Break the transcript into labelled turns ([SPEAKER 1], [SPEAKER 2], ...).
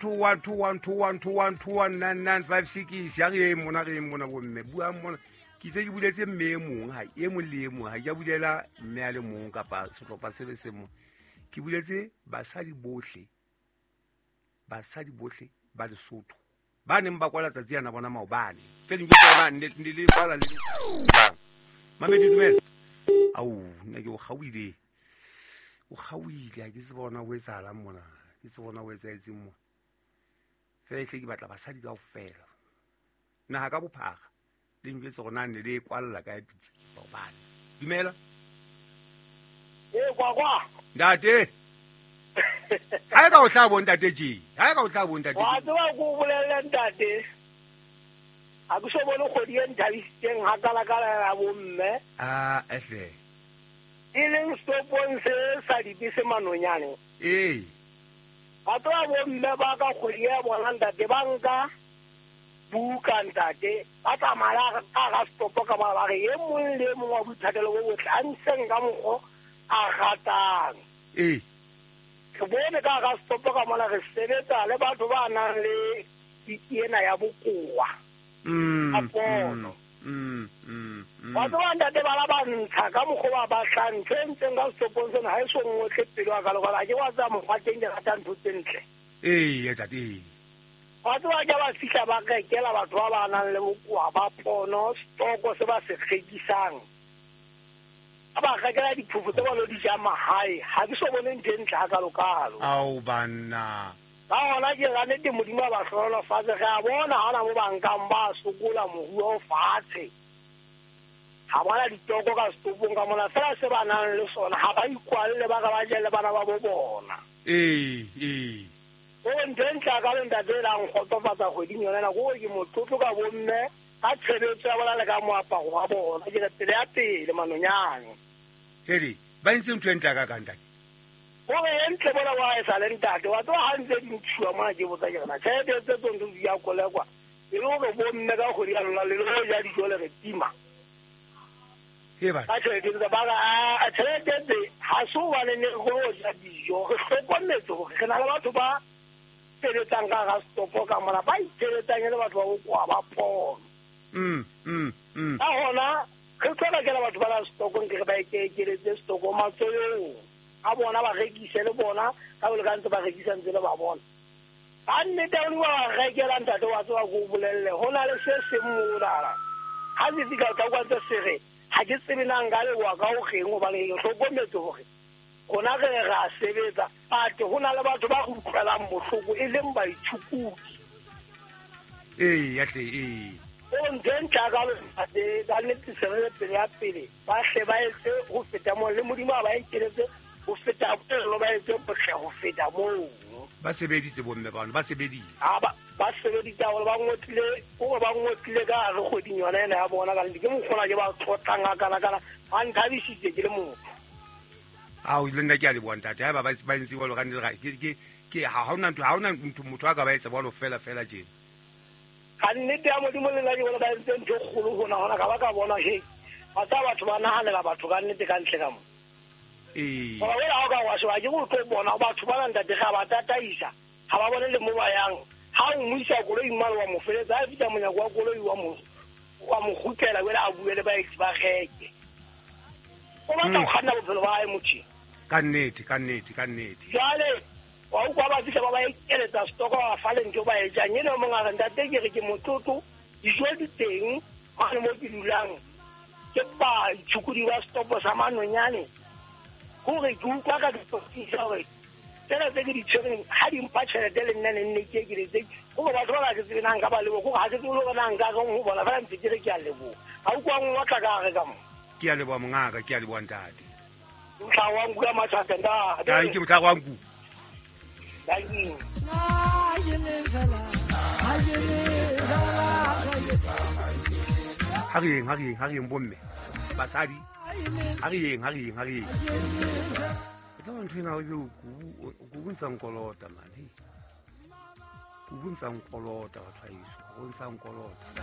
[SPEAKER 1] 2 1 2 1 2 1 2 1 2 1 9 9 5 6. Ya re eng mona, re eng mona bomme, buang mona. Ke itse ke buletse mme e mong, ha e mong le e mong, ha ke a bulela mme a le mong kapa sehlopha se le se mong. Ke buletse basadi bohle, basadi bohle ba Lesotho ba neng ba kwala tsatsi yana bona maobane. Tse ding ke tsona ne le kwala le Mamedi. Dumela. Ao, nna ke o kgaoile, o kgaoile. Ha ke tsebe bona ho etsahalang mona, ke tsebe bona ho etsahetseng mona. Fela ehle ke batla basadi kaofela naha ka bophara le njwetse gore na ne le e kwalla kae pitsi maobane. Dumela.
[SPEAKER 2] Ee, kwakwa.
[SPEAKER 1] Ntate, ha e ka o tla bo ntate tje, ha e ka o tla bo ntate.
[SPEAKER 2] Wa tseba, ko o bolelle ntate, ha ke so bone kgwedi e nthabisitseng hakalakala ya bomme.
[SPEAKER 1] A ehle.
[SPEAKER 2] E leng setopong se sa dibese Manonyane.
[SPEAKER 1] Ee.
[SPEAKER 2] Wa tseba, bomme ba ka kgwedi ya bona ntate, ba nka buka ntate, ba tsamaya ka ga setopo ka ba re e mong le e mong wa boithatelo bo botle a ntsheng ka mokgo a ratang.
[SPEAKER 1] Ee.
[SPEAKER 2] Re bone ka ga setopo ka mona re sebetsa le batho ba nang le tiki ena ya bokowa ka pono. Wa tseba ntate, bana ba ntsha ka mokgwa ba batlang. Ntho e ntseng ka setopong sena ha e so ngotle pelo ya ka le ha ke wa tseba mokgwa teng, ke rata ntho tse ntle.
[SPEAKER 1] Ee, ntate, ee.
[SPEAKER 2] Wa tseba, ke ba fihla ba rekela batho ba ba nang le bokowa ba pono stoko se ba se rekisang, ba ba rekela diphofo tse ba lo di jang mahae. Ha ke so bone ntho e ntle hakalokalo.
[SPEAKER 1] Ao banna.
[SPEAKER 2] Ka gona ke ra nnete, Modimo a ba hlohonolofatse. Re a bona ha ona mo ba nkang ba sokola, moruo o fatshe, ha bona ditoko ka setopong ka mona. Fela se ba nang le sona ha ba ikwalle, ba ka ba je le bana ba bo bona.
[SPEAKER 1] Ee, ee.
[SPEAKER 2] Gore ntho e ntle ka le ntate e lang kgotsofatsa kgweding yona ena, kore ke motlotlo ka bomme ka tshebetso ya bona le ka moaparo wa bona. Ke re pele ya pele Manonyane.
[SPEAKER 1] Hele, ba entse ntho e ntle ka kang, ntate.
[SPEAKER 2] Gore e ntle bona wa e sa le ntate. Wa tseba, ha ntse di ntshuwa mona, ke botsa ke rena tjhelete tse tsong di ya kolekwa e le hore bomme ka kgwedi ya lona le lo ja dijo le re tima
[SPEAKER 1] he ba
[SPEAKER 2] ka tjhelete tse ba re a tjhelete tse ha se hobane ne re lo ja dijo. Re hlokometse hore re na le batho ba sebetsang ka hara setopo ka mona, ba itshebetsang e le batho ba bokowa ba pono. Ka hona re tlo rekela batho ba na setokong, ke re ba ekeletse setoko matsohong a bona, ba rekise le bona ka bole ka ntse ba rekisa ntse le ba bona ka nnete o ba rekela. Ntate, wa tseba, ko o bolelle, ho na le se seng monana ha se fihla o tla kwa ntse se re ha ke tsebe na nka leboha ka ho reng, hobane ke hlokometse hore rona re re a sebetsa, but ho na le batho ba re utlwelang bohloko e leng baitshukudi.
[SPEAKER 1] Ee, ya tle, ee.
[SPEAKER 2] O ntho e ntle ka ntate, ka nnete se re pele ya pele, ba hle ba etse ho feta moo, le Modimo a ba ekeletse ho feta polelo, ba etse botle ho feta moo.
[SPEAKER 1] Ba sebeditse bomme bano, ba sebeditse.
[SPEAKER 2] Ha ba sebeditse haholo, ba ngotlile kore ba ngotlile ka hare kgweding yona ena ya bona. Ka nnete ke mokgona ke ba tlotlang a kana-kana, ba nthabisitse ke le motho.
[SPEAKER 1] Ao, le nna ke a leboha ntate. Haeba ba entse jwalo ka nnete, ke ha hona ntho, ha hona ntho motho a ka ba etsa jwalo fela fela tjena.
[SPEAKER 2] Ka nnete ya Modimo, le nna ke bona ba entse ntho e kgolo hona hona, ka ba ka bona he ba tsa batho ba nahanela batho ka nnete ka ntle ka mo.
[SPEAKER 1] Ee.
[SPEAKER 2] Goba wela ha o ka wa sheba ke go tlo bona batho ba ntate ga ba tataisa, ga ba bone le mo ba yang. Ha o mo isa koloi mane, wa mo feletsa, ha fihla monyako wa koloi wa mo kgutlela wela a bue le baeti ba reke. O batla ho kganna bophelo ba hae motho.
[SPEAKER 1] Ka nnete, ka nnete, ka nnete.
[SPEAKER 2] Jwale wa utlwa, ba fihla ba ba ekeletsa stoko, ba fa le ntho ba e jang. Ene o mong a re, "Ntate, ke re ke motlotlo, dijo di teng mane mo ke dulang, ke baitshokodi ba setopo sa Manonyane. Hore ke utlwa ka dipotisa hore tsena tse ke di tshwereng ha di mpha tjhelete, le nna ne nne ke ekeletse hore batho ba ba ke tsebe na nka ba leboha, kore ha ke tsebe le hore na nka reng ho bona, fela ntse ke re ke a leboha." Ha utlwa ngotla ka hare ka mo.
[SPEAKER 1] Ke a leboha mongaka, ke a leboha ntate.
[SPEAKER 2] Motlhago wa nku ya matšhata ntate.
[SPEAKER 1] Tanki, motlhago wa nku.
[SPEAKER 2] Thank you.
[SPEAKER 1] Ha re yeng, ha re yeng, ha re yeng bomme, basadi, ha re yeng, ha re yeng, ha re yeng. E tseba ntho ena ebe kubu ntsa nkolota mane, kubu ntsa nkolota, batho ba heso, o ntsa nkolota.